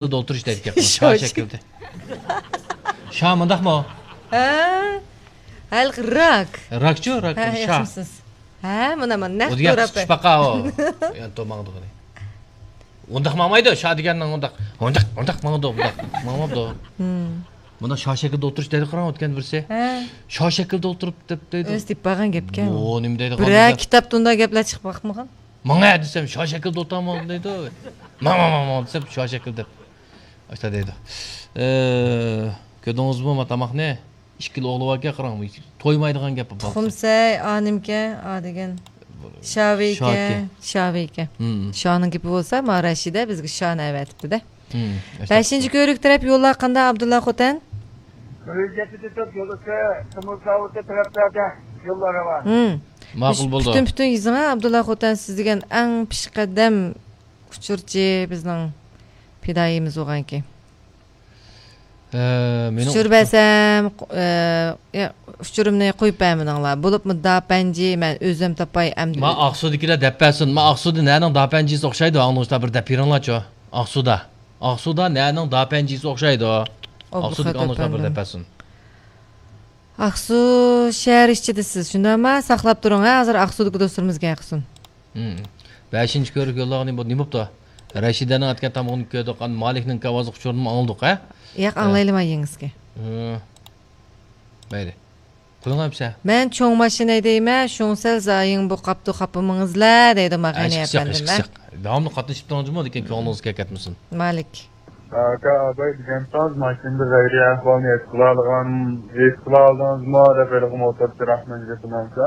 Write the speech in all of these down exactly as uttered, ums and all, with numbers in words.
ئولتۇرۇش دەيدىكەن. شا شا شەكىلدە. شا مۇنداقمۇ؟ ھە. ھەلقى راك. راكچۇ، راك. ھە، شا. ياخشىمسىز؟ ھە، مانا، مانا، نەق ئۇ دېگەن تۇرۇپ. قىچقىچ پاقا ئۇ. يەنە تو ماڭىدىغىنى. ئۇنداق ماڭمايدۇ، شا دېگەننىڭ ئۇنداق، ئۇنداق، ئۇنداق ماڭىدۇ، ئۇنداق ماڭماپتۇ. مۇنداق شا شەكىلدە ئولتۇرۇش دەيدۇ، قاراڭ، ئۆتكەن بىرسى. ھە. شا شەكىلدە ئولتۇرۇپ دەپ دەيدۇ. ئۆزى دېيىپ بارغان گەپكەن. بۇ نېمە دەيدۇ، بىرەر قانداق؟ كىتابتا ئۇنداق گەپلەر چىقىپ باقمىغان. ماڭا دېسەم، شا شەكىلدە ئولتۇرامەن دەيدۇ. ماڭ، ماڭ، ماڭ، ماڭ دېسەم، شا شەكىل دەپ. ئاشتا دەيدۇ. ئە، كۆردىڭىزمۇ ما تاماقنى؟ ئىككىلا ئوغلى باركەن، قاراڭ، تويمايدىغان گەپ بۇ. تۇخۇمسەي، ئانىمكەن، ئا دېگەن. شاۋىكەن، شاكى. شاۋىكەن. ھىم. شانىڭ گېپى بولسا، ما رەشىدە بىزگە شانى ئەۋەتىپتۇ-دە. ھىم، بەشىنچى كۆۋرۈك تەرەپ يوللار قانداق، ئابدۇللا خوتەن؟ بىر يۈز يەتتە تۆت يولىسى، تىمۇر زاۋۇتى تەرەپلەردە يوللار راۋان. ھىم. ماقۇل بولدى. پۈتۈن، پۈتۈن يېزىڭا، ئابدۇللا خوتەن، سىز دېگەن ئەڭ پېشقەدەم ئۇچۇرچى بىزنىڭ پىدائىيىمىز بولغانكى. ئە، مېنىڭ ئۇچۇر بەرسەم، ئە، يا، ئۇچۇرۇمنى قويۇپ بەرمىدىڭلار. بولۇپمۇ داپەنجى، مەن ئۆزۈم تاپاي ئەمدى. ما ئاقسۇدىكىلەر دەپ بەرسۇن. ما ئاقسۇدا نەنىڭ داپەنجىسى ئوخشايدۇ؟ ئاڭلىغۇچىلار بىر دەپ بېرىڭلارچۇ. ئاقسۇدا. ئاقسۇدا نەنىڭ داپەنجىسى ئوخشايدۇ؟ ئابدۇخالىق ئاقسۇدىكى ئاڭلىغۇچىلار بىر ئەپەندىم. دەپ بەرسۇن. ئاقسۇ شەھەر ئىچىدە سىز، شۇنداقمۇ؟ ساقلاپ تۇرۇڭ، ھە، ھازىر ئاقسۇدىكى دوستلىرىمىزغا ئايقىسۇن. ھىم. بەشىنچى كۆۋرۈك يوللىغىنى بۇ نېمە بوپتۇ؟ رەشىدەنىڭ ئەتكەن تامىقىنى كۆردۇق، ئاندىن مالىكنىڭ ئاۋازلىق ئۇچۇرىنىمۇ ئاڭلىدۇق، ھە؟ ياق، ھە. ئاڭلايلىما يېڭىسكى. ھىم. مەيلى. قىلىڭ ئەمسە. مەن چوڭ ماشىنا ھەيدەيمەن، شۇڭسەل زايىڭ بوقاپتۇ، خاپا بولماڭلار دەيدۇ ماغىنى ئەپەندىم. داۋاملىق قاتنىشىپ تۇرۇڭ جۇمۇ، لېكىن كۆڭلىڭىزگە كەتمىسۇن. مالىك. ئاكا، ئاباي دېگەنسىز ماشىنىدا غەيرىي ئەھۋالنى ھېس قىلالىغان، ھېس قىلالدىڭىزمۇ دەپ ھېلىقى موتورچى رەھمەت جېپىنىڭسا.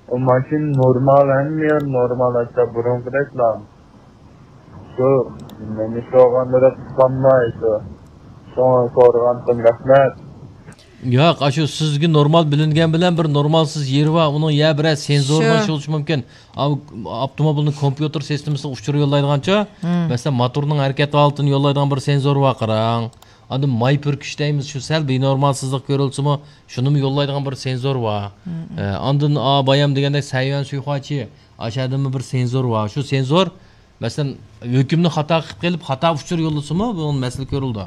ئۇ ماشىنا نورمال، ھەممە يېرى نورمال، ھەتتا بۇرۇنقىدەكلا. شۇ نېمە سورىغاندا قىلالماي شۇ. شۇڭا سورىغانتىم، رەھمەت. ياق، ئاشۇ سىزگە نورمال بىلىنگەن بىلەن بىر نورمالسىز يېرى بار. ئۇنىڭ يا بىرەر سېنزورىنىڭ شۇ. ئىشى بولۇشى مۇمكىن. ئاۋ-، ئاپتوموبىلنىڭ كومپيۇتېر سىستېمىسىغا ئۇچۇر يوللايدىغانچۇ، مم. مەسىلەن، موتورنىڭ ھەرىكەت ھالىتىنى يوللايدىغان بىر سېنزور بار، قاراڭ. ئاندىن ماي پۈركۈش دەيمىز، شۇ سەل بىنورمالسىزلىق كۆرۈلسىمۇ، شۇنىمۇ يوللايدىغان بىر سېنزور بار. مم. ئە، ئاندىن، ئا، بايام دېگەندەك، سەييۈەن سۈيخۇاچى، ئاشۇ يەردىمۇ بىر سېنزور بار. شۇ سېنزور مەسىلەن، ھۆكۈمنى خاتا قىلىپ قېلىپ، خاتا ئۇچۇر يوللىسىمۇ، بۇ مەسىلە كۆرۈلىدۇ.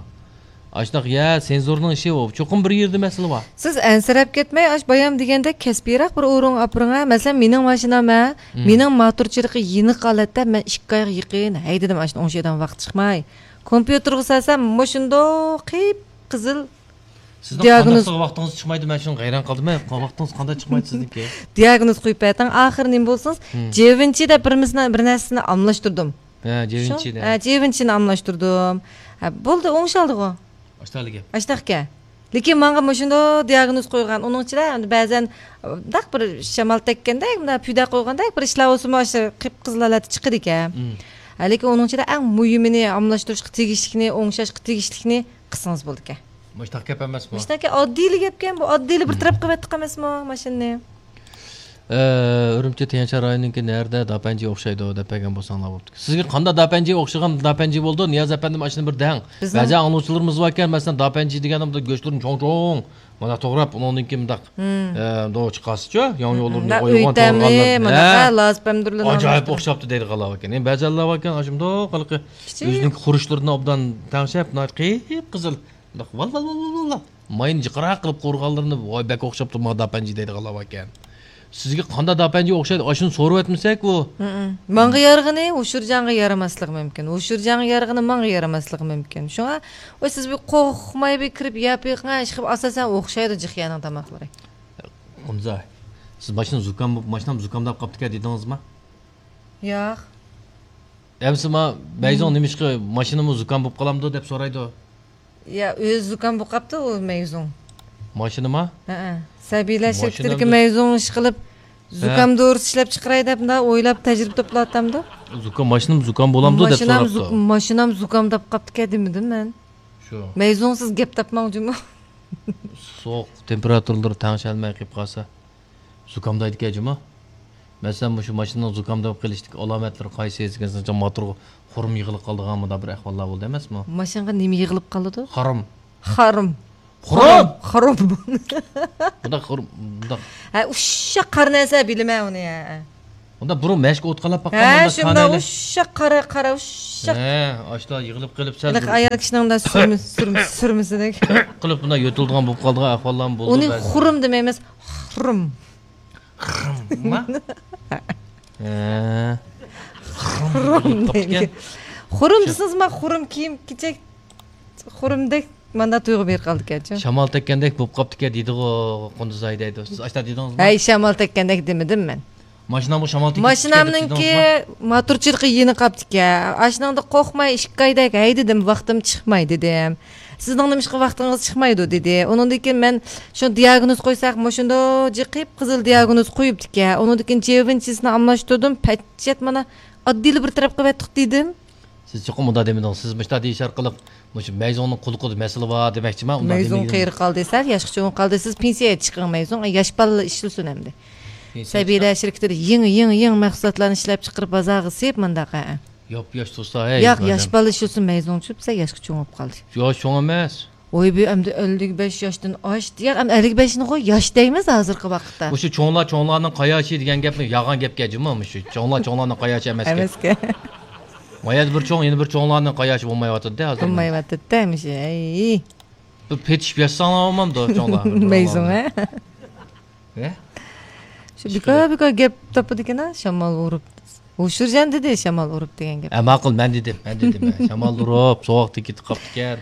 ئاشۇنداق، يا، سېنزورنىڭ ئىشى ئۇ. چوقۇم بىر يېرىدە مەسىلە بار. سىز ئەنسىرەپ كەتمەي، ئاش بايام دېگەندەك كەسپىيراق بىر ئورۇنغا ئاپىرىڭ ھە. مەسىلەن، مېنىڭ ماشىنام ھە، مم. مېنىڭ موتورچىلىقى يېنىق ھالەتتە، مەن ئىككى ئايغا يېقىن ھەيدىدىم، ئاشۇنى ئوڭشايدىغان ۋاقىت چىقماي. كومپيۇتېرغا سالسام، مۇشۇنداق قىپقىزىل سىزنىڭ دىئاگنوز. قانداقسىغا ۋاقتىڭىز چىقمايدۇ، مەن شۇنىڭغا ھەيران قالدىم. ھە، ۋاقتىڭىز قانداق چىقمايدۇ سىزنىڭكى؟ دىئاگنوز قويۇپ بەردىڭ، ئاخىرى نېمە بولسىڭىز، مم. جېۋىنچى دەپ بىر مىسنى، بىر نەرسىنى ئالماشتۇردۇم. ھە، شۇ؟ جېۋىنچىنى. ھە، جېۋىنچىنى ئالماشتۇردۇم. ھە، بولدى، ئوڭشالدىغۇ. ئاشتاقلا گەپ. ئاشتاقكەن. لېكىن ماڭا مۇشۇنداق دىئاگنوز قويغان، ئۇنىڭ ئىچىدە بەزەن، داق بىر شامال تەگكەندەك، مۇنداق پۈدە قويغاندەك بىر ئىشلار بولسىمۇ، ئاشۇ قىپقىزىل ھالەتتە چىقىدىكەن. مم. ھە، لېكىن ئۇنىڭ ئىچىدە ئەڭ مۇھىمىنى، ئالماشتۇرۇشقا تېگىشلىكنى، ئوڭشاشقا تېگىشلىكنى قىلسىڭىز بولىدىكەن. مۇشۇنداق گەپ ئەمەسمۇ؟ مۇشۇنداق ئاددىيلا گەپكەن بۇ، ئاددىيلا بىر مم. تەرەپ قىلىۋەتتۇق ئەمەسمۇ ماشىنىنى؟ ئە، ئۈرۈمچى تيەنشان رايونىنىڭكى نەدە داپەنجى ئوخشايدۇ دەپ بەرگەن بولساڭلار بوپتۇ. سىزگە قانداق داپەنجى ئوخشىغان داپەنجى بولىدۇ؟ نىياز ئەپەندىم، ئاشۇنى بىر دەڭ. بىزنىڭ بەزى ئاڭلىغۇچىلىرىمىز باركەن، مەسىلەن، داپەنجى دېگەندە بۇنداق گۆشلىرىنى چوڭ-چوڭ مۇنداق توغراپ، ئۇنىڭدىن كېيىن مۇنداق، مم. ئە، دو چىقارسىچۇ، ياڭيۇلىرىنى مم. قويغان ئۆيتەملى، توغرىغانلار. مۇنداق، ھە. ھە، لازىپەمدۇرلىنى ئاجايىپ ئالماشتۇرۇپ. ئوخشاپتۇ دەيدىغانلار باركەن. يەنە بەزىلەر باركەن، ئاشۇنداق ھېلىقى كىچىك. ئۆزىنىڭكى خۇرۇچلىرىنى ئوبدان تەڭشەپ، ناھايىتى قىپقىزىل. مۇنداق ۋال، ۋال، ۋال، ۋال، ۋال. ماينى جىقراق قىلىپ قورۇغانلىرىنى، ۋاي، بەك ئوخشاپتۇ، ماڭا داپەنجى دەيدىغانلار باركەن. سىزگە قانداق داپەنجى ئوخشايدۇ؟ ئاشۇنى سورىۋەتمىسەك، ئۇ. ھىم. ماڭا يارىغىنى ھوشۇرجانغا يارىماسلىقى مۇمكىن. ھوشۇرجانغا يارىغىنى ماڭا يارىماسلىقى مۇمكىن. شۇڭا، ۋاي، سىز بىر قورقماي بىر كىرىپ يەپ بېقىڭ، ئىشقىلىپ ئاساسەن ئوخشايدۇ جىخيانىڭ تاماقلىرى. ئۇنزا، سىز ماشىنا زۇكام، ماشىنام زۇكامداپ قاپتىكەن دېدىڭىزما؟ ياق. ئەمسە ما، مەيزۇڭ مم. نېمىشقا ماشىنىمۇ زۇكام بولۇپ قالامدۇ دەپ سورايدۇ. يا، ئۆزى زۇكام بولۇپ قاپتۇ ئۇ مەيزۇڭ. ماشىنىما؟ ھەئە. سەبىيلەر ماشىنامدۇ- شىركىتىدىكى مەيزۇڭ ئىشقىلىپ، ھە. زۇكام دورىسى ئىشلەپ چىقىراي دەپ، مۇنداق ئويلاپ تەجرىبە توپلاۋاتامدۇ. زۇكام، ماشىنام زۇكام بولامدۇ دەپ ماشىنام سوراپتۇ. زۇك-، ماشىنام زۇكام دەپ قاپتىكەن دېمىدىم مەن. شۇ. مەيزۇڭسىز گەپ تاپماڭ جۇمۇ. سوغۇق تېمپېراتۇرىلىرى تەڭشەلمەي قېلىپ قالسا. زۇكامدايدىكەن جۇمۇ. مەسىلەن، مۇشۇ ماشىنىنىڭ زۇكامداپ قېلىشتىكى ئالامەتلىرى قايسى دېگەن، موتورغا خۇرۇم يىغىلىپ قالىدىغان مۇنداق بىر ئەھۋاللار بولدى ئەمەسمۇ؟ ماشىنىغا نېمە يىغىلىپ قالىدۇ؟ خۇرۇم. خۇرۇم. خۇرۇم. خۇرۇم. بۇنداق خۇرۇم، بۇنداق. ھە، ئۇششاق قارا نەرسە بىلىمەن ئۇنى، ھە. ئۇندا بۇرۇن مەشىق ئوتقالاپ باققان ھە، شۇنداق ئۇششاق قارا، قارا، ئۇششاق. ھە، ئاشۇلا يىغىلىپ قېلىپ سەل ھېلىقى ئايال كىشىنىڭ سۈرمە-، سۈرمە-، سۈرمىسىدەك. قىلىپ بۇنداق يۆتىلىدىغان بولۇپ قالىدىغان ئەھۋاللارمۇ بولدى ئۇنى بەزىدە. خۇرۇم دېمەيمىز، خۇرۇم. خۇرۇم؟ ھە. خۇرۇم دەيدىكەن. خۇرۇم دېسىڭىز، ما خۇرۇم كىيىم كېچەك، خۇرۇمدەك ماندا تۇيغۇ بېرىپ قالدىكەنچۇ. شامال تەگكەندەك بولۇپ قاپتىكەن دېدىغۇ، قۇندۇزئاي دەيدۇ. سىز ئاشۇنداق دېدىڭىزمۇ؟ ھەي، شامال تەگكەندەك دېمىدىم مەن. ماشىنامغا شامال تېگىپ كېتىپ ماشىنامنىڭكى دېدىڭىزمۇ؟ موتورچىلىقى يېنىق قاپتىكەن. ئاشۇنىڭدا قورقماي ئىككى ئايدەك ھەيدىدىم، ۋاقتىم چىقماي دېدىم. سىزنىڭ نېمىشقا ۋاقتىڭىز چىقمايدۇ دېدى. ئۇنىڭدىن كېيىن مەن شۇ دىياگنوز قويساق، مۇشۇنداق جىقىپ قىزىل دىياگنوز قويۇپتىكەن. ئۇنىڭدىن كېيىن جىۋىنچىسىنى ئالماشتۇردۇم. پەججەت مانا ئاددىيلا بىر تەرەپ قىلىۋەتتۇق دېدىم. سىز چوقۇم مۇنداق دېمىدىڭىز. سىز مۇشۇنداق دېيىش ئارقىلىق مۇشۇ مەيزۇڭنىڭ قۇلىقىدا مەسىلە بار دېمەكچىما؟ ئۇنداق مەيزۇڭ دېمىگىن. قېرى قالدى، سەل ياشقا چوڭىيىپ قالدى. سىز پېنسىيەگە چىقىڭ مەيزۇڭ. ياش بالىلار ئىشلىسۇن ئەمدى. پېنسىيەگە سەبىيلەر چىقىپ شىركىتىدە يېڭى، يېڭى، يېڭى مەھسۇلاتلارنى ئىشلەپ چىقىرىپ بازارغا سېلىپ مۇنداق، ھە. ياپياش تۇرسا، ھەي، ياق، ياش بالا ئىشلىسۇن مەيزۇڭ چۈپ، سەل ياشقا چوڭىيىپ قالدى. ياش چوڭ ئەمەس. ۋوي، بۇ ئەمدى ئەللىك بەش ياشتىن ئاشتى. ياق، ئەمدى ئەللىك بەشنىغۇ ياش دەيمىز ھازىرقى ۋاقىتتا. مۇشۇ چوڭلار چوڭلارنىڭ قاياشى دېگەن گەپمۇ يالغان گەپكەن جۇمۇ. مۇشۇ چوڭلار چوڭلارنىڭ قاياشى ئەمەسكەن. ئەمەسكەن. ما يەردە بىر چوڭ، يەنە بىر چوڭلارنىڭ قاياشى بولمايۋاتىدۇ ھازىر. بولمايۋاتىدۇ مۇشۇ. ئەي. بىر پېتىشىپ ياشىساڭلار بولمامدۇ چوڭلار؟ مەيزۇڭ، ھە؟ ھە؟ شۇ بىكار، بىكار گەپ تاپىدىكەن، شامال ئۇرۇپ. ھوشۇرجان دېدى، شامال ئۇرۇپ دېگەن گەپ. ھە، ماقۇل، مەن دېدىم، مەن دېدىم، ھە. شامال ئۇرۇپ، سوغۇق تېگىپ قاپتىكەن.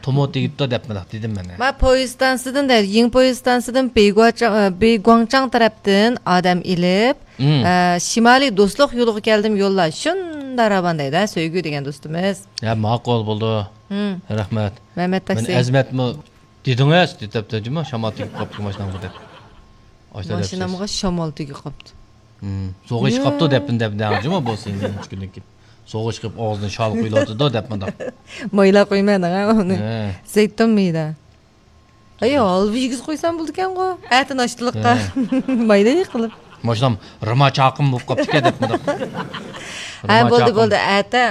تومۇر تېگىپتۇ دەپ مۇنداق دېدىم مەن، ھە. ما پويىز ئىستانسىدىن دەيدۇ، يېڭى پويىز ئىستانسىدىن بېيگۇاچاڭ-، ئە، بېيگۇاڭچاڭ تەرەپتىن ئادەم ئېلىپ، ئە، شىمالىي دوستلۇق يولىغا كەلدىم يوللار. شۇنداق راۋان دەيدۇ، ھە، سۆيگۈ دېگەن دوستىمىز. ھە، ماقۇل بولدى. رەھمەت. مەمەت تاكسى. مەن ئەزمەتمۇ دېدىڭىز، دەپتۇ جۇمۇ، شامال تېگىپ قاپتۇ ماشىنامغا دەپ. ئاشۇنداق دەپسىز. ماشىنامغا شامال تېگىپ قاپتۇ. سوغۇق ئىچىپ قاپتۇ دەپتۇ، دەپ دەڭ جۇمۇ بولسا ئەمدى ئۈچ كۈندىن كېيىن. سوغۇق ئىچىپ قېلىپ ئاغزىدىن شال قۇيۇلۇۋاتىدۇ دەپ مۇنداق. مايلا قويمايدىغان ئۇنى. ھە. زەيتۇن مېيىدا. ئەي، ھالۋا يېگۈزۈپ قويسام بولىدىكەنغۇ. ئەتە ناشتىلىققا. ھە. مايلا قىلىپ. ماشىنام رىما چاقىم بولۇپ قاپتىكەن دەپ مۇنداق. ھە، رىما بولدى، چاقىم. بولدى. ئەتە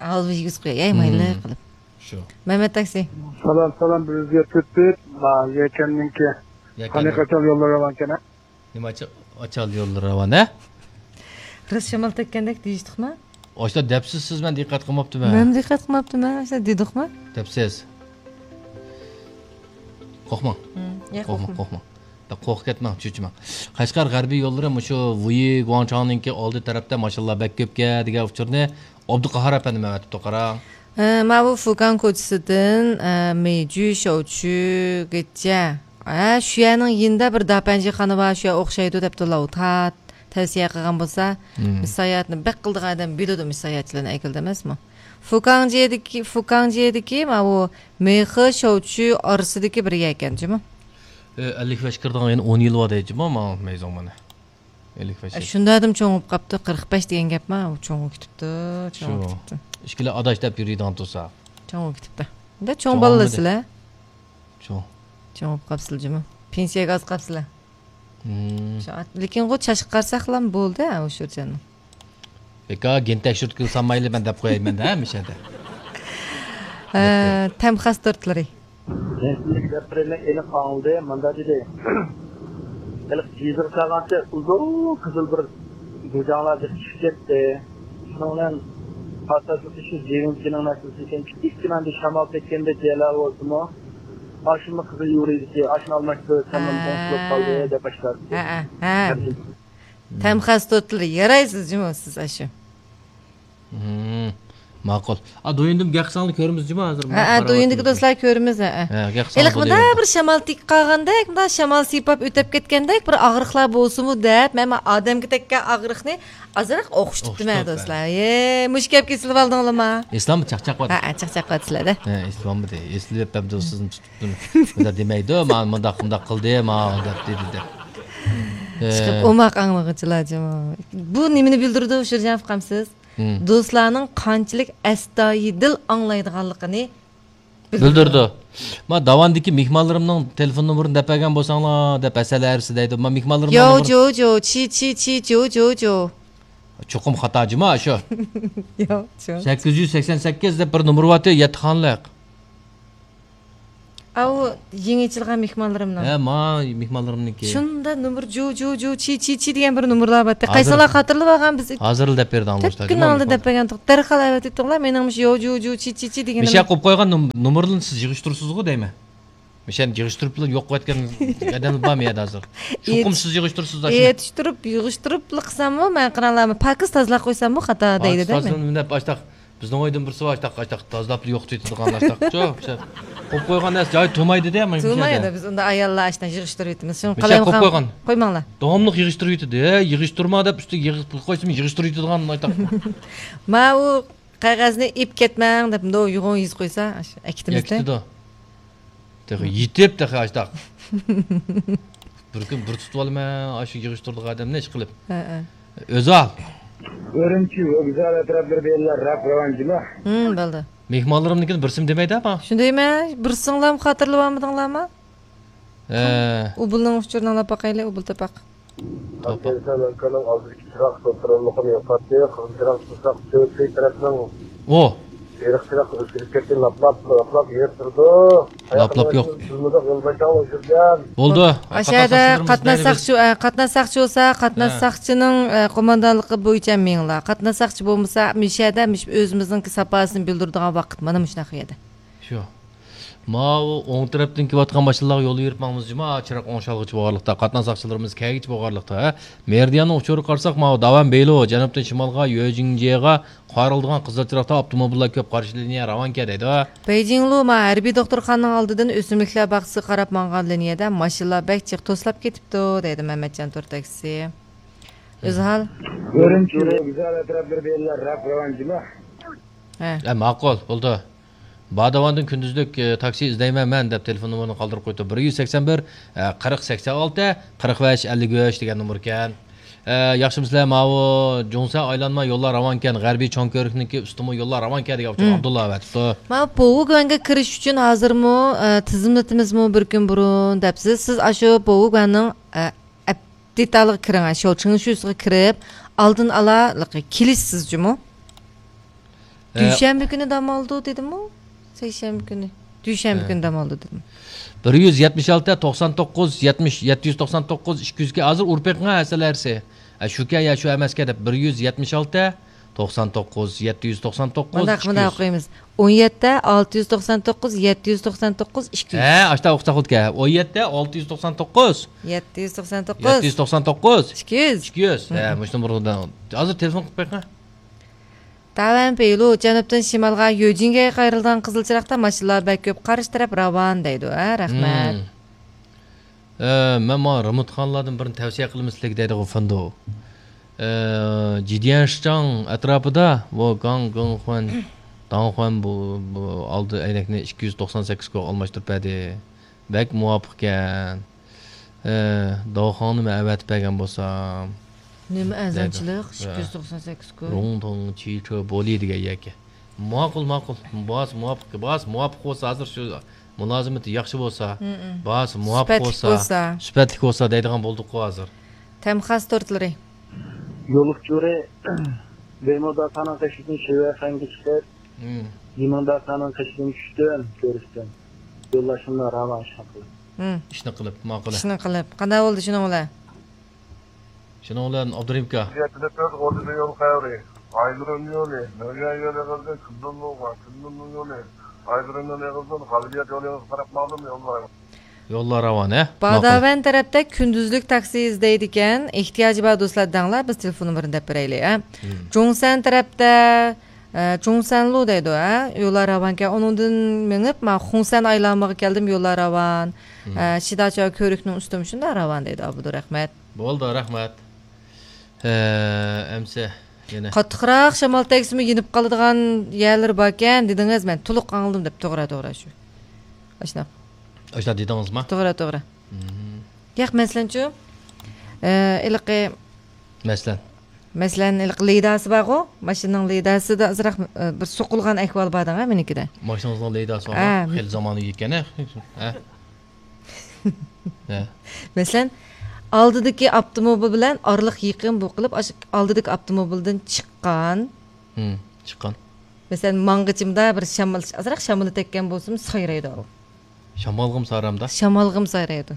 ھالۋا يېگۈزۈپ قوياي، ئەي، مايلا قىلىپ. شۇ. مەمەت تاكسى. سالام، سالام، بىر يۈز يەتتە تۆت. ما، يەكەننىڭكى. يەكەننىڭ. قېنى قاچان يوللار راۋانكەن، ھە؟ نېمە ئاچا-، ئاچال يوللىرى راۋان، ھە؟ راست شامال تەگكەندەك دېيىشتۇقما؟ ئاشۇنداق دەپسىز سىز، مەن دىققەت قىلماپتىمەن. مەن دىققەت قىلماپتىمەن، ئاشۇنداق دېدۇقما؟ دەپسىز. قورقماڭ. ياق، قورقماڭ، قورقماڭ. قورقۇپ كەتمەڭ، چۆچۈمەڭ. قەشقەر غەربىي يوللىرى مۇشۇ ۋۇيى گۇاڭچاڭنىڭكى ئالدى تەرەپتە ماشىنىلار بەك كۆپكەن دېگەن ئۇچۇرنى ئابدۇقاھار ئەپەندىم ئەۋەتىپتۇ، قاراڭ. ھە، ماۋۇ فۇكاڭ كوچىسىدىن، ئە، مېيجۈ شوچۈگىچە. ھە، شۇ يەرنىڭ يېنىدا بىر داپەنجىخانا بار، شۇ يەر ئوخشايدۇ دەپتۇ لاۋۇ تات. تەۋسىيە قىلغان بولسا، مم. مۇشۇ ساياھەتنى بەك قىلىدىغان ئادەم بىلىدۇ، مۇشۇ ساياھەتچىلەرنى ئەكېلىدۇ ئەمەسمۇ؟ فۇكاڭجيېدىكى، فۇكاڭجيېدىكى ماۋۇ مېخې شوچۈ ئارىسىدىكى بىر يەركەن جۇمۇ. ئەللىك بەش كىردىغان يەنە ئون يىل بار دەيدۇ جۇمۇ، ماڭا مەيزۇڭ مانا. ئەللىك بەش ئە، يىل. شۇنداق ئادەم چوڭىيىپ قاپتۇ، قىرىق بەش دېگەن گەپما، ئۇ چوڭىيىپ كېتىپتۇ، چوڭىيىپ شۇ. كېتىپتۇ. ئىككىلى ئاداش دەپ يۈرىدىغان تۇرسا. چوڭىيىپ كېتىپتۇ. ئەمدى چوڭ چوڭ بالىلار بولمىدى. سىلەر. چوڭ. چوڭىيىپ قاپسىلە جۇمۇ. پېنسىيەگە ئاز قاپسىلە. مم. شۇ ئات-، لېكىن ئۇ چاچقا قارىساقلا بولدى، ھە، ئۇشۇرجاننىڭ. بىكار گېنى تەكشۈرتكىلى سالمايلى، مەن دەپ قوياي مەن-دە ھەمىشە-دە. ھە، تەم خاس تورتلىرى. جەنسىزلىك دەپ بېرىمەن، ئېنىق ئاڭلىدى، مۇنداق دېدى. ھېلىقى جىزىغا سالغانچە ئۇزۇن قىزىل بىر گۇجاڭلار بېسىپ چۈشۈپ كەتتى. شۇنىڭ بىلەن پاساژلىقى شۇ جىۋىنچىنىڭ مەسىلىسى ئىكەن، كىچىككىنە ئاندىن شامال تەگكەندەك يەرلەر بولسىمۇ، ئاشۇمۇ قىزىل يورۇيدىكى، ئاشۇنى ئالماشتۇرۇپ سەندىن ھە. ئوڭشىلىپ قالدى دەپ باشلاپ. ھە، ھە، ھە. تەم خاس تورتلىرى يارايسىز جۇمۇ سىز ئاشۇ. مم، ماقۇل. ئا، دويۇندىمۇ گەق ساڭلا كۆرىمىز جۇمۇ ھازىر. ھە، ھە، دويۇندىكى دوستلار كۆرىمىز، ھە، ھە. ھە، گەق ساڭلا ھېلىقى مۇنداق بىر شامال تېگىپ قالغاندەك، مۇنداق شامال سىيپاپ ئۆتۈپ كەتكەندەك بىر ئاغرىقلار بولسىمۇ دەپ، مەن ئادەمگە تەگكەن ئاغرىقنى ئازراق ئوخشىتىپتىمەن، ئوخشىتىپ، دوستلار. ھە. ئەي، مۇشۇ گەپكە ئېسىلىۋالدىڭلارما؟ ئېسىلاممۇ چاقچاق بار. ھە، ھە، چاقچاق بارسىلەردە. ھە، ئېسىلاممۇ دەي. ئېسىلىپ ئەمدى سىزنى تۇتۇپتۇ. بۇنداق دېمەيدۇ، مانا مۇنداق، مۇنداق قىلدى، مانا دەپ دېدى دەپ. ھە. چىقىپ ئوماق ئاڭلىغۇچىلار جۇمۇ. بۇ نېمىنى بىلدۈرىدۇ، شىرجان ئۇقامسىز؟ مم. دوستلارنىڭ قانچىلىك ئەستايىدىل ئاڭلايدىغانلىقىنى بىلدۈرىدۇ. بىلدۈرىدۇ. ما داۋاندىكى مېھمانلىرىمنىڭ تېلېفون نومۇرىنى دەپ بەرگەن بولساڭلار دەپ ھەسەل ھەرىسى دەيدۇ. ما مېھمانلىرىمنىڭ يو، نومۇرى جو، جو، چى، چى، چى، جو، جو، جو. چوقۇم خاتا جۇمۇ شۇ. يو، جو. سەككىز يۈز سەكسەن سەككىز دەپ بىر نومۇر بارتى، يەتتە خانىلىق. ئاۋۇ يېڭى ئېچىلغان مېھمانلىرىمنىڭ. ھە، ما مېھمانلىرىمنىڭكى. شۇندا نومۇر جو، جو، جو، چى، چى، چى دېگەن بىر نومۇرلار بارتتى. ھازىر، قايسىلار خاتىرىلىۋالغان بىز؟ ھازىرلا دەپ بەردىڭ، تۆت كۈن ئالدىن دەپ بەرگەن. دەرھال ئەۋەتىۋېتىڭلار، مېنىڭ مۇشۇ يو، جو، جو، چى، چى، چى دېگىنىم. مىشە قويۇپ قويغان نوم-، نومۇرلىرىنى سىز يىغىشتۇرىسىزغۇ دەيمەن. مىشەنى يىغىشتۇرۇپ يوق قىلىۋەتكەن ئادەم بارمۇ يەردە ھازىر؟ چوقۇم سىز يىغىشتۇرىسىز ئاشۇنى. يېتىشتۈرۈپ، يىغىشتۇرۇپلا قىلساممۇ، مەن قىرانلارمۇ پاكىز تازىلاپ قويساممۇ خاتا دەيدۇ دەيمەن. تازىلاپ ئاشتاق. بىزنىڭ ئۆيدىن بىرسى بار، ئاشتاق، ئاشتاق تازىلاپلا يوقىتىۋېتىدىغان ئاشتاق. شۇ، شۇ قويۇپ قويغان نەرسە جايى تۇرمايدۇ دە، مانا مۇشۇنچە. تۇرمايدۇ، بىز ئۇنداق ئاياللار ئاشتاق يىغىشتۇرۇۋېتىمىز. شۇنى قويۇپ قويغان. قويماڭلار. داۋاملىق يىغىشتۇرۇۋېتىدۇ. ھە، يىغىشتۇرما دەپ ئۈستىگە يىغىپ قويسىمۇ يىغىشتۇرۇۋېتىدىغان ئاشتاق. ما ئۇ قەغەزنى ئېلىپ كەتمەڭ دەپ مۇنداق يوغان يېزىپ قويسا، ئاشۇ ئەكېتىمىزدە. ئەكېتىدۇ. تېخى يېتىپ، تېخى ئاشتاق. بىر كۈن بىر تۇتۇۋالىمەن، ئاشۇ يىغىشتۇرىدىغان ئادەمنى ئىشقىلىپ. ھە، ھە. ئۆزى ئال. ئۈرۈمچى ۋوگزال ئەتراپلىرى بىلەن راك راۋان جۇمۇ. ھىم، بولدى. مېھمانلىرىمنىڭكىنى بىرسىمۇ دېمەيدۇ، ئاپا. شۇنى دەيمەن، بىرسىڭلارمۇ خاتىرىلىۋالمىدىڭلارمۇ؟ ھە. ئۇبۇلنىڭ ئۇچۇرىنى ئاڭلاپ باقايلى، ئۇبۇل تاپاق. تاپاق. ئالتىنچى لانكىنىڭ ئالدىدىكى چىراغ سوتتۇرۇلمىقىنى يوقاتتى. قىزىل چىراغ تۇتساق، تۆتى تەرەپنىڭ ئۇ. سېرىق چىراغ ئۆچۈرۈپ كەتتى. لاپ-لاپ، لاپ-لاپ يېرىپ تۇرىدۇ. لاپ-لاپ يوق. بولدى. ئاشۇ يەردە قاتناش ساقچى، ئە، قاتناش ساقچى بولسا، قاتناش ساقچىنىڭ، ئە، قوماندانلىقى بويىچە مېڭىڭلار. قاتناش ساقچى بولمىسا، مۇشۇ يەردە مۇشۇ ئۆزىمىزنىڭكى ساپاسىنى بىلدۈرىدىغان ۋاقىت مانا مۇشۇنداق يەردە. شۇ. ماۋۇ ئوڭ تەرەپتىن كېلىۋاتقان ماشىنىلارغا يول بېرىپ ماڭىمىز جۇما، چىراغ ئوڭشالغۇچە بولغانلىقتا، قاتناش ساقچىلىرىمىز كەلگۈچە بولغانلىقتا، ھە؟ مېرىدىياننىڭ ئۇچۇرىغا قارىساق، ماۋۇ داۋەن بېيلۇ جەنۇبتىن شىمالغا يۆجىڭجيېغا قايرىلىدىغان قىزىل چىراغدا ئاپتوموبىللار كۆپ، قارشى لىنىيە راۋانكەن دەيدۇ. بېيجىڭلۇ ما ھەربىي دوختۇرخانىنىڭ ئالدىدىن ئۆسۈملۈكلەر باغچىسىغا قاراپ ماڭغان لىنىيەدە ماشىنىلار بەك جىق توسۇلۇپ كېتىپتۇ، دەيدۇ مەمەتجان تور تاكسىسى. ئۆزھال. ئۈرۈمچى ۋوگزال ئەتراپلىرى بىلەن راك راۋان جۇمۇ. ھە. ھە، ماقۇل، بولدى. باداۋاندىن كۈندۈزلۈك، ئى، تاكسى ئىزدەيمەن مەن دەپ تېلېفون نومۇرىنى قالدۇرۇپ قويۇپتۇ. بىر يۈز سەكسەن بىر، ئە، قىرىق، سەكسەن ئالتە، قىرىق بەش، ئەللىك ئۈچ دېگەن نومۇركەن. ئە، ياخشىمۇسىلەر؟ ماۋۇ جۇڭسەن ئايلانما يوللار راۋانكەن، غەربىي چوڭ كۆۋرۈكنىڭكى ئۈستىمۇ يوللار راۋانكەن دېگەن ئۇچۇر ئابدۇللا ئەۋەتىپتۇ. ماۋۇ بوۋۇگۈەنگە كىرىش ئۈچۈن ھازىرمۇ، ئە، تىزىملىتىمىزمۇ بىر كۈن بۇرۇن دەپسىز. سىز ئاشۇ بوۋۇگۈەننىڭ، ئە، ئەپ-، دېتالىغا كىرىڭ، شۇ چىڭشۇسىغا كىرىپ، ئالدىن ئالا كېلىشسىز جۇمۇ. ئە، دۈشەنبە كۈنى دام ئالىدۇ دېدىمۇ؟ سەيشەنبە كۈنى. دۈشەنبە كۈنى دام ئالىدۇ دېدىم. بىر يۈز يەتمىش ئالتە، توقسان توققۇز، يەتمىش، يەتتە يۈز توقسان توققۇز، ئىككى يۈزكە ھازىر ئۇرۇپ بېقىڭ ھەسسىلەرسى. ئە، شۇكەن يا شۇ ئەمەسكەن دەپ، بىر يۈز يەتمىش ئالتە، توقسان توققۇز، يەتتە يۈز توقسان توققۇز، مۇنداق، ئىككى يۈز. مۇنداق ئوقۇيمىز. ئون يەتتە، ئالتە يۈز توقسان توققۇز، يەتتە يۈز توقسان توققۇز، ئىككى يۈز. ھە، ئاشتا ئوقۇساق بولىدىكەن. ئون يەتتە، ئالتە يۈز توقسان توققۇز. يەتتە يۈز توقسان توققۇز. يەتتە يۈز توقسان توققۇز. ئىككى يۈز. ئىككى يۈز. ھە، مۇشۇنى بۇرۇن ھازىر تېلېفون قىلىپ بېقىڭ. داۋەن پېيلۇ، جەنۇبتىن شىمالغا يۆجىڭگەگە قايرىلىدىغان قىزىل چىراغدا ماشىنىلار بەك كۆپ، قارشى تەرەپ راۋان دەيدۇ. ھە، رەھمەت. ھە، مەن ماڭا رېمونتخانىلاردىن بىرىنى تەۋسىيە قىلىمەن سىلەرگە دەيدىغۇ فېندۇ. ئە، جىديەنشىچاڭ ئەتراپىدا، ۋو گاڭ گېڭخۇەن، داڭخۇەن بۇ، بۇ ئالدى ئەينەكنى ئىككى يۈز توقسان سەككىز كوغا ئالماشتۇرۇپ بەردى. بەك مۇۋاپىقكەن. ئە، داۋخاڭنى مەن ئەۋەتىپ بەرگەن بولسام. نېمە ئەرزانچىلىق؟ ئىككى يۈز توقسان سەككىز كوي. روڭتوڭ چىچې بولى دېگەن يەرگە. ماقۇل، ماقۇل. باھاسى مۇۋاپىق، باھاسى مۇۋاپىق بولسا، ھازىر شۇ مۇلازىمىتى ياخشى بولسا، باھاسى مۇۋاپىق بولسا، سۈپەتلىك بولسا دەيدىغان بولدۇققۇ ھازىر. تەمخاس تورتلىرى. يول ئۇچۇرى بېيموداسانىڭ قېشىدىن شىۋەخەنگە چىقىپ، يىمىڭداسانىڭ قېشىدىن چۈشتۈم، كۆرۈشتۈم. يوللاشمىلار راۋان ئىشنى قىلىپ. ئىشنى قىلىپ، ماقۇل. ئىشنى قىلىپ. قانداق بولدى شۇنىڭ بىلەن؟ شۇنىڭ بىلەن ئابدۇرېھىم ئاكا. يەتتە تۆت ئوتتۇز يول قەۋرى. ئايدۇرۇن يولى. نۆگەن يول ئېغىزىدىن كۈندۈنلۇغا، كۈندۈنلۇ يولى. ئايدۇرۇن يول ئېغىزىدىن غەلىبىيەت يولى ئېغىزىغا قاراپ ماڭدىم يوللار. يوللار راۋان، ھە؟ ماقۇل. باداۋەن تەرەپتە كۈندۈزلۈك تاكسى ئىزدەيدىكەن، ئېھتىياجى بار دوستلار دەڭلار، بىز تېلېفون نومۇرىنى دەپ بېرەيلى، ھە؟ جۇڭسەن تەرەپتە، ئە، جۇڭسەنلۇ دەيدۇ، ھە؟ يوللار راۋانكەن، ئۇنىڭدىن مېڭىپ، ما خۇڭسەن ئايلانمىغا كەلدىم، يوللار راۋان. ئە، شىداچياۋ كۆۋرۈكنىڭ ئۈستىمۇ شۇنداق راۋان دەيدۇ، ئابدۇرەھمەت. بولدى، رەھمەت. ھە، ئەمسە يەنە. قاتتىقراق شامال تەگسىمۇ يېنىپ قالىدىغان يەرلىرى باركەن دېدىڭىز، مەن تولۇق ئاڭلىدىم دەپ، توغرا، توغرا شۇ. ئاشۇنداق. ئاشۇنداق دېدىڭىزما؟ توغرا، توغرا. ياق، مەسىلەنچۇ، ئە، ھېلىقى. مەسىلەن. مەسىلەن، ھېلىقى لىداسى بارغۇ، ماشىنىنىڭ لىداسىدا ئازراق، ئە، بىر سوقۇلغان ئەھۋال بار دەڭە مېنىڭكىدە. ماشىنىڭىزنىڭ لىداسى بارغۇ، ھە، خېلى زامانى يەتكەن، ھە؟ ھە. مەسىلەن، ئالدىدىكى ئاپتوموبىل بىلەن ئارىلىق يېقىن بولۇپ قېلىپ، ئاشۇ ئالدىدىكى ئاپتوموبىلدىن چىققان. چىققان. مەسىلەن، ماڭغىچىمدا بىر شامال، ئازراق شامىلى تەگكەن بولسىمۇ سايرايدۇ ئۇ. شامالغىمۇ سايرايمدا؟ شامالغىمۇ سايرايدۇ.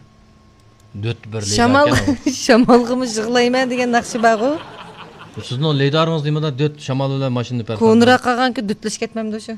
دۆت بىر شامال لىدار ئىكەن. شامالغىمۇ يىغلايمەن دېگەن ناخشا بارغۇ. سىزنىڭ لىدارىڭىز نېمىدا؟ دۆت شامال بىلەن ماشىنىنى پەرق. كونىراق قالغانكى دۆتلىشىپ كەتمەمدۇ شۇ؟